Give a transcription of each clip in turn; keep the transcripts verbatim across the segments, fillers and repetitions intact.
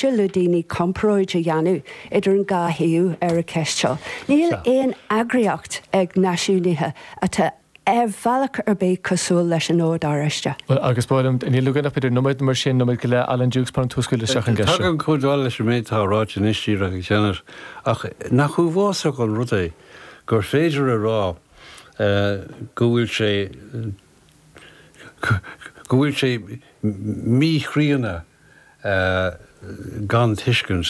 le daoine comparáid a dhéanamh idir an dhá thaobh ar an cheist seo. Níl aon eagraíocht ag náisiúnaithe atá ar bhealach ar bith cosúil leis an Ord Oráisteach. Well, agus b'fhéidir níl againn ach b'fhéidir nóiméad mar sin nóiméad go leith Alan Dukes pan túscail isteach an gceist seo. Tagann cuid mhaith leis an méid atá ráite anois díreach ag Janet ach nach uafásach an rud é gur féidir a rá go bhfuil sé go bhfuil sé míchríonna gan tuiscint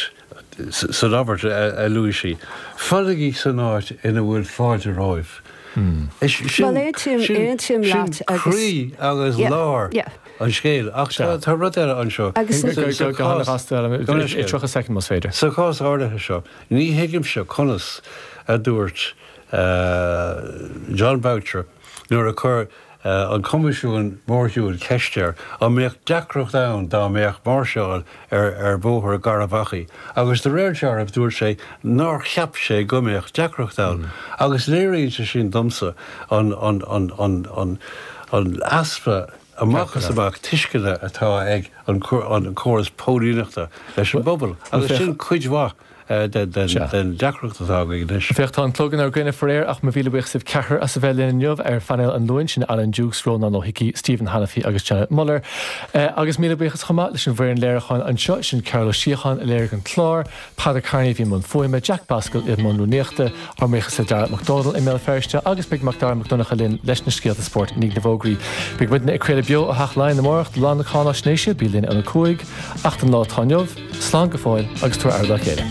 san abairt a luaigh sí. Fanaigí san áit ina bhfuil fáilte romhaibh. Well, aontaím aontaím leat agus croí agus lár an scéil ach tá rud eile anseo. tríocha soicind más féidir. Sa chás áirithe seo, ní thuigimse conas a dúirt Jon Boutcher nuair a chuir an Coimisiún Mórshiúil ceist air an mbeadh deacracht ann dá mbeadh máirseáil ar ar Bhóthar Gharbhachaidh agus de réir dealraimh dúirt sé nár cheap sé go mbeadh deacracht ann agus léiríonn sé sin domsa an an an an an an easpa amach is amach tuisceana atá ag an an córas póilíneachta leis an bpobal agus sin cuid mhaith den deacracht atá againn anois. Féach tá an clog inár gcoinne faraor ach mo mhíle buíochas libh ceathrar as a bheith linn inniu ar phainéal an Luain sin Alan Dukes, Rónán Ó hIcí, Stephen Hanniffy agus Janet Muller. Agus míle buíochas chomh maith leis an bhfoireann léiriúcháin anseo sin Carol Ó Síocháin a léirigh an clár, Peadar Kearney bhí i mbun fuaime, Jack Basquill i mbun rúnaíochta, ár mbuíochas le Dara Mac Dónaill i mBéal Feirste agus beidh Mac Dara Mac Donncha linn leis na scéalta spóirt i ndiaidh na bhfógraí. Beidh muidne ag craoladh beo ó Theach Laighean amárach do lá na cáináisnéise bí linn óna cúig, ach don lá atá inniu, slán go fóill agus tabhair aire dá chéile.